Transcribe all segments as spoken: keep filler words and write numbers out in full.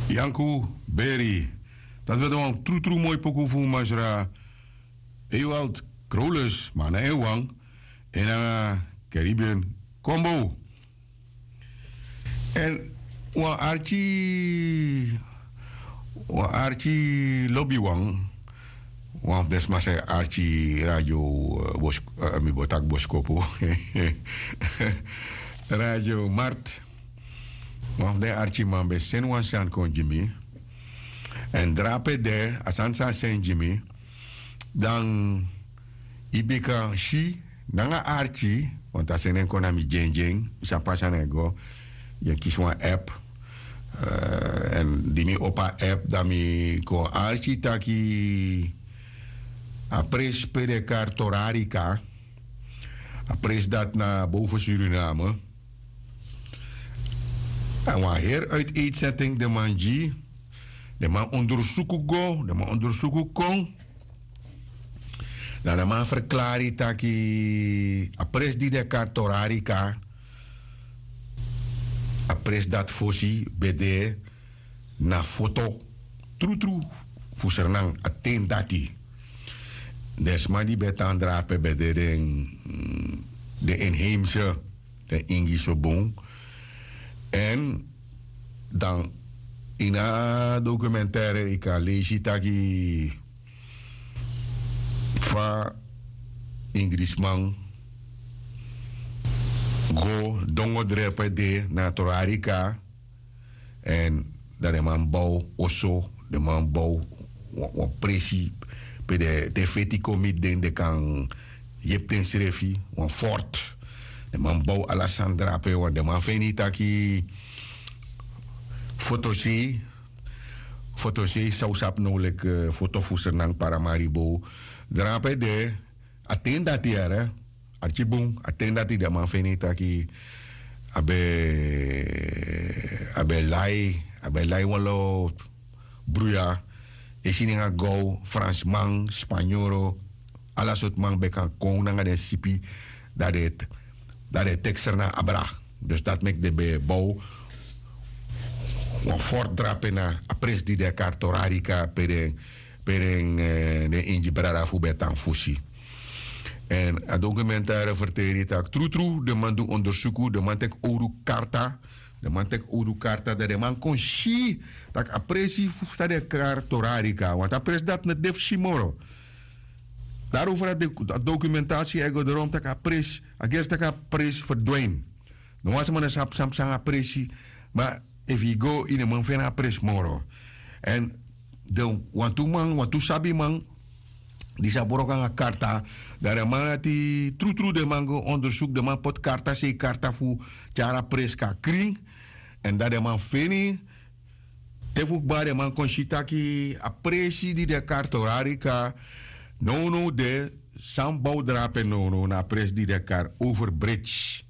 Yanku Beri. Dati ben de wan trutru moi poku fu masra Ewald Krolus, ma na en wan, en nanga Caribbean Combo. Èn wan arki, wan arki lobiwan, wan fu den sma san e arki radio, eh, bos- eh, mi bo taki boskopu, Radio Mart. Wan fu den arkiman ben seni wan sani kon gi mi. Èn drape de a sani san a seni gi mi, dan yu bika si nanga arki, want a seni en kon na mi dyendyen, mi sabi fa a sani e go. Yu e kisi wan app, eh, èn di mi opo a app, dan mi kon arki taki a presi pe den e kari Torarika, a presi dati na boven Suriname. A wan heri uitetsetting den man gi. Den man ondersuku go, den man ondersuku kon. Dan den man verklari taki a presi di den e kari Torarika, a presi dati fosi ben de na foto trutru fu Sranan a ten dati. Den sma di ben e tan drape ben de den, mm, den inheimse, den Ingi so bun. Èn dan ini a documentaire yu kan leisi taki fa Inglisman go dongo drepe de na Torarika. Èn dan den man bow oso, den man bow wan, wan presi pe den te feti kon miti den, den kan yepi densrefi, wan fort. Den man bow ala sani drape, want den man feni taki fotosei, fotosei san un sabi now leki, eh, foto fu Sranan, Paramaribo, drape de. A ten dati yere, arki bun, a ten dati den man feni taki a ben, a ben lai, a ben lai wan lo bruya, e si nanga gow, Fransman, Spanyoro, ala sortu man ben kan kon nanga den sipi, dan den, dan den teki Sranan abra. Dus dati meki den ben bow wan fort drape na a presi di den e kari Torarika, pe den, pe den, eh, den Ingi brada fu ben tan fosi. Èn a documentaire verteri taki trutru den man du ondersuku, den man teki owru karta, den man teki owru karta, dan den man kon si taki a presi fu san den e kari Torarika, want a presi dati no de fu si moro. Daarover a doc-, a documentatie e go doro, taki a presi, a gersi taki a presi verdwijn. No wan sma no sabi san psa nanga a presi, ma efu yu go, yu no man feni a presi moro. Èn den wantu man, wantu sabiman, di sa broko nanga karta, dan den man dati trutru den man go ondersuku, den man poti karta, sei karta fu tyari a presi kon na krin, èn dan den man feni, te fu kba den man kon si taki a presi di den e kari Torarika nownow de, san bow drape nownow, na a presi di den e kari Overbridge.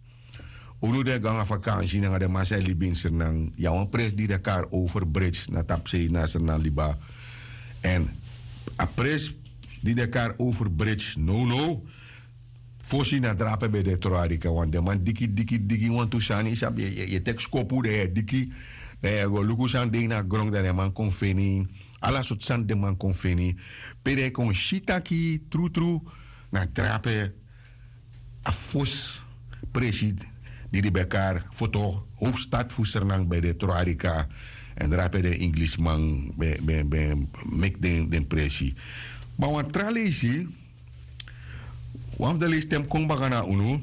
Unu di e go nanga vakansi nanga den man san e libi ini Sranan, yu abi wan presi di den e kari Overbridge na tapu sei na Sranan liba. Èn a presi di den e kari Overbridge nownow, fosi na drape ben de Torarika, want den man diki, diki, diki wantu sani, yu sabi, yu e, yu e teki skopu, dan yu e diki, dan yu e go luku san de ini a gron, dan den man kon feni, ala sortu sani den man kon feni, pe den kon si taki trutru na drape a fosi presi di den ben e kari foto, hoofdstad fu Sranan ben de Torarika, èn drape den Inglisiman ben, ben, ben meki den, den presi. Ma wan tra leisi, wan fu den leisi te mi kon baka na unu,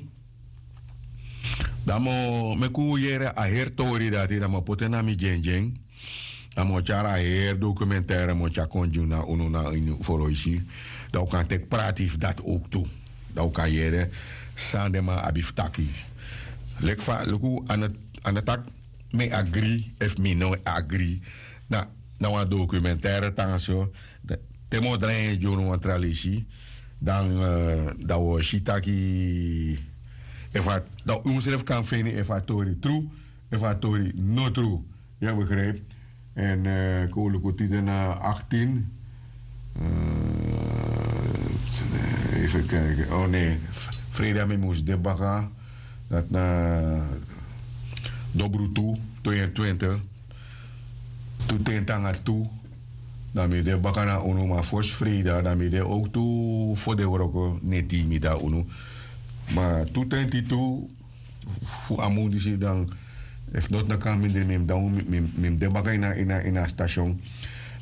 dan mi o meki un yere a heri tori dati, dan mi o poti en na mi dyendyen. Dan mi o tyari a heri documentaire, mi o tyari kon gi unu na ini foroisi. Dan un kan teki prati fu dati ook tu. Dan un kan yere san den man abi fu taki. Leki fa, luku, a no, a no taki mi e agri efu mi no e agri. Na, na wan documentaire tan so. Te mi o drai en gi unu wan tra leisi, dan, eh, dan wi o si taki efu a, dan unsrefi kan feni efu a tori tru, efu a tori no tru. Yu e begrijp? Èn, eh, kon wi luku tide na achttien. Eh, even kijken. Oh nee, freida mi mus de baka. Dati na dobru tu, tweeëntwintig. Tu tenti nanga tu, dan mi de baka na unu, ma fosi freida dan mi de owktu fo de wroko neti mi de na unu. Ma tu tenti tu fu a mun disi, dan efu noti no kan mindri mi mus de baka ini a stasion.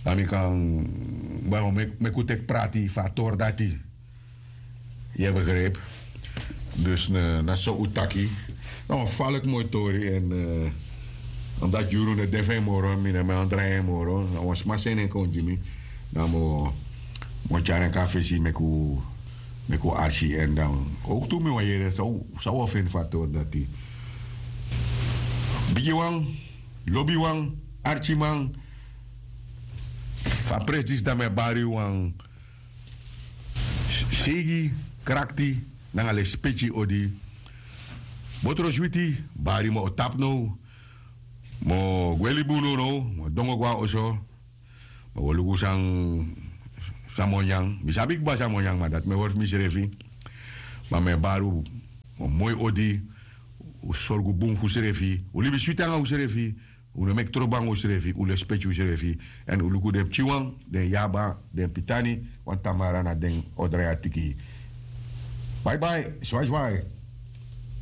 Dan mi kan baro meki un teki prati fu a tori dati. Yu e begripi? Dus na so un taki. Na wan faliki moi tori èn omdati yuru no de fu en moro, mi no man drai en moro, na wan sma seni en kon gi mi. Dan mi o tyari en kon na fesi meki un arki. Èn dan owktu mi wani yere san un o feni fu a tori dati. Bigiwan, lobiwan, arkiman, fu a presi disi dan mi e bari wan seigi, krakti nanga lespeki odi. Botro switi, bari mi o tapu now. Mi o gwe libi unu now, mi o dongo go na oso. Mi o go luku san mi o nyan. Mi sabi kba san mi o nyan, ma dati mi e hori fu misrefi. Ma mi e bari un wan moi odi. Un sorgu bun fu usrefi, un libi switi nanga usrefi. Un no meki trobo nanga usrefi, un lespeki usrefi. Èn un luku den pikinwan, den yaba, den pitani, wan tamara na den o drai a tiki. Baibai, swai swai.